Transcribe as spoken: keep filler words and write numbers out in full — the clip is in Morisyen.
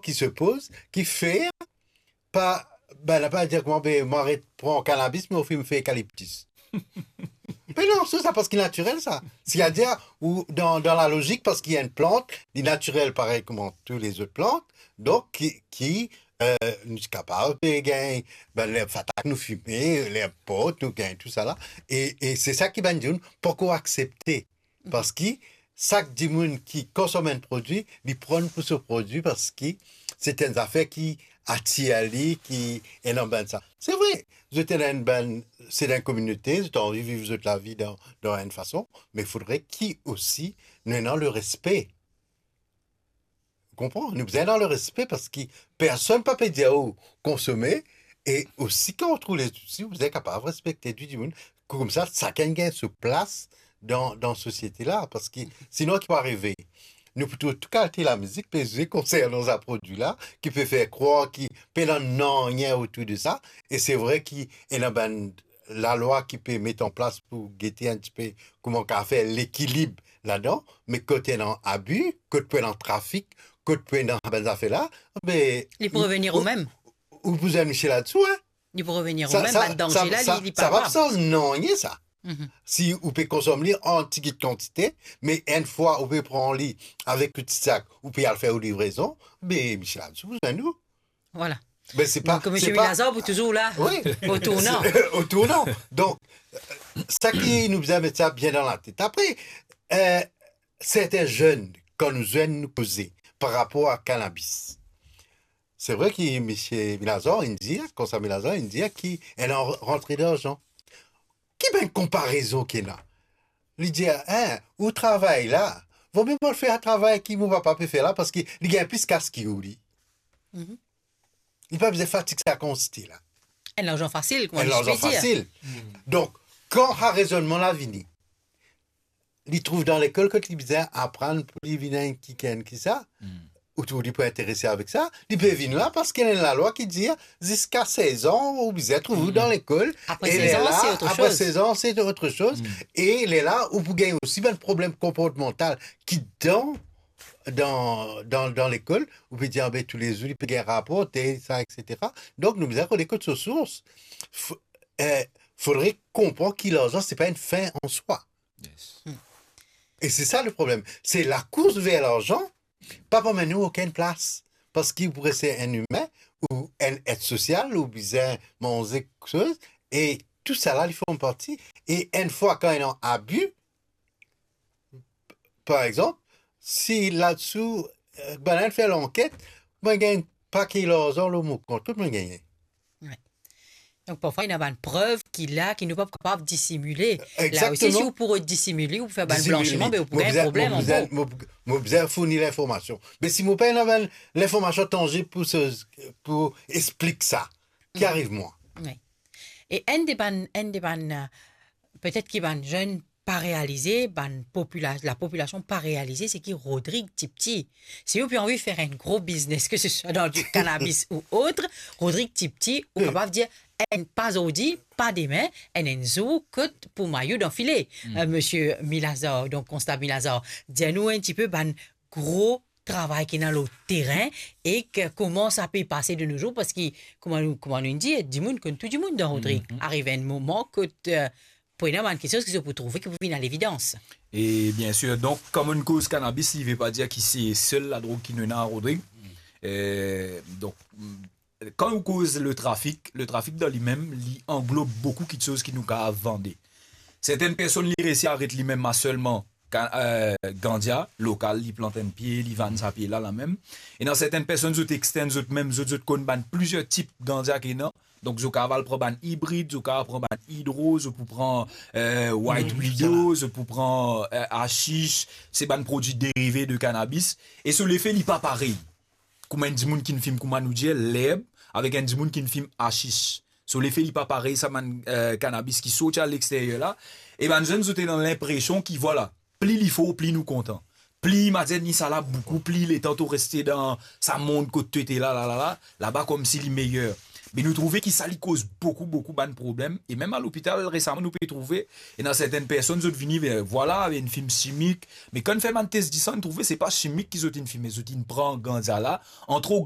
ki se poz, ki fer pa, bann la pa dir kouma, be, mo aret pran kanabis, mo finn fer ekaliptis. Me non, se sa, parski natirel sa. Setadir, ou dan, dan lalozik, parski enn plant, li natirel parey kouma tou lezot plant, donk ki, ki, eh, nou ti kapav pe gagn, bann lerb fatak nou fime, lerb port nou gagn, tousala. E, e se sa ki bann dimoun poko aksepte. Parski sak dimoun ki konsom enn prodwi, li pran pou so prodwi parski se enn zafer ki atir li, ki ena bann sa. Se vre, zot ena enn bann, se dan enn kominote, zot anvi viv zot lavi dan, dan enn fason, me fodre ki osi nou ena lerespe. Ou konpran? Nou bizin dan lerespe parski personn pa pe dir ou konsome, e osi kan ou trouv lezouti, ou bizin kapav respekte tou dimoun. Koumsa, sakenn gagn so plas dan, dan sosiete la, parski sinon, ki pou arive? Nou pou trouv tou kalite lamizik pe zwe konsernan sa prodwi la, ki pe fer krwar ki pena nanye otour de sa, e se vre ki ena bann lalwa ki pe met an plas pou gete enn tipe kouma kapav fer lekilib ladan, me kot ena abi, kot pou ena trafik, kot pou ena bann zafer la, be, Li pou revenir ou mem. Ou pou zwenn Michel ladsou, hein? Li pou revenir ou mem, bann danze la, li, li pa pa sanz nanye sa. Si ou pe konsom li an tigit kantite, me enn fwa ou pe pran li avek ou ti sak, ou pe al fer ou livrezon, be, Michel ladsou pou zwenn ou. Voilà. Ben, se pa, Donk, se Misie pa Milazar pou touzour la, Wi. O tournan. Se, o tournan. Donk, euh, sa ki nou bizin met sa bien dan latet. Apre, euh, serten zenn, kan nou zwenn, nou koze par rapor a kanabis. Se vre ki Misie Milazar inn dir, konsa Milazar inn dir ki ena rantre larzan. Ki bann konparezon ki ena? Li dir, hein, ou travay la, vomie mo al fer travay ki mo papa pe fer la, parski li gagn plis kas ki ou, li. Li pa bizin fatig sa kantite la. Enn larzan fasil, kouma Enn nou larzan pe dir. Fasil. Donk, kan sa rezonnman la vini, li trouv dan lekol kot li bizin aprann pou li vinn enn kikenn ki sa, ou trouv li pou interese avek sa, li pe vinn la parski ena enn lalwa ki dir, ziska sez an, ou bizin trouv ou dan lekol, Apre e sez an, lerla, se otre apre soz. Sez an, se otre soz, e lerla, ou pou gagn osi bann problem konportmantal ki dan dan, dan, dan lekol, ou pe dir, ah, be, toulezour, li pe gagn rapor, tel sa, et cetera. Donk, nou bizin rod kot so sours. F-, eh, fodre konpran ki larzan, se pa enn fin an swa. Yes. E se sa le problem. Se lakours ver larzan, pa pou amenn ou okenn plas. Parski ou pou reste enn imin, ou enn et sosial, ou bizin manze kiksoz, e tousala, li form parti. E enn fwa kan ena abi, par exanp, si ladsou, eh, bann fer lanket, mo gagn pake larzan lor mo kont, kot mo gagne? Wi. Donk, parfwa, ena bann prev ki la, ki nou pa kapav disimile. La osi, si ou pou disimile, ou pou fer bann Disimile. Blansiman, be ou pou Mo gagn bizin, problem mo bizin, ankor. Mo, mo bizin fourni linformasion. Me si mo pena bann linformasion tanzib pou se, pou explik sa, ki ariv mwa? Wi. E enn de bann, enn de bann, eh, petet ki bann zenn pa realize, bann popula-, lapopulasion pa realize, se ki Rodrig Tipti, si ou pe anvi fer enn gro biznes, ke se swa dan kanabis ou otre, Rodrig Tipti, ou kapav dir, enn pa zordi, pa demin, enn, enn zour, kot pou mayo dan file. Eh, Misie Milazar, donk, Konstab Milazar, dir nou enn tipe bann gro travay ki ena lor terin e ke, kouma sa pe pase de nos jours, parski, kouma nou, kouma nou dir, dimoun konn tou dimoun dan Rodrig. Ariv enn moman kot, eh, pou ena bann kiksoz ki zot pou trouve ki pou vinn a levidans. E bien sir, donk, kan nou koz kanabis, li ve pa dir ki se sel ladrog ki nou ena a Rodrig. Eh, donk, kan nou koz le trafik, le trafik dan limem, li anglob boukou kiksoz ki nou kapav vande. Sertenn personn, li resi aret limem a selman ka-, eh, gandia lokal, li plant enn pie, li vann sa pie la, lamem. Ena sertenn personn, zot extend zot mem, zot, zot konn bann plizier tip gandia ki ena. Donk, zot kapav al pran bann ibrid, zot kapav pran bann idro, zot pou pran, eh, white widow, zot pou pran, eh, ashich, se bann prodwi derive de kanabis. E so lefe, li pa parey. Kouma enn dimoun ki fim, kouma nou dir, lerb, avek enn dimoun ki fim ashich. So lefe, li pa parey sa bann, eh, kanabis ki sorti a lexteryer la. E bann zenn, zot ena linpresion ki, vwala, pli li for, pli nou kontan. Pli, mo dir, ni sa la boukou, pli letan to reste dan sa mond kot to ete la, la, la, la, laba koumsi li meyer. Me nou trouve ki sa li koz boukou, boukou bann problem. E mem a lopital, resaman, nou pe trouve, ena sertenn personn, zot vini, eh, vwala, avek enn fim simik. Me kan fer bann tes disan, nou trouve se pa simik ki zot inn fime, zot inn pran gandia la, an tro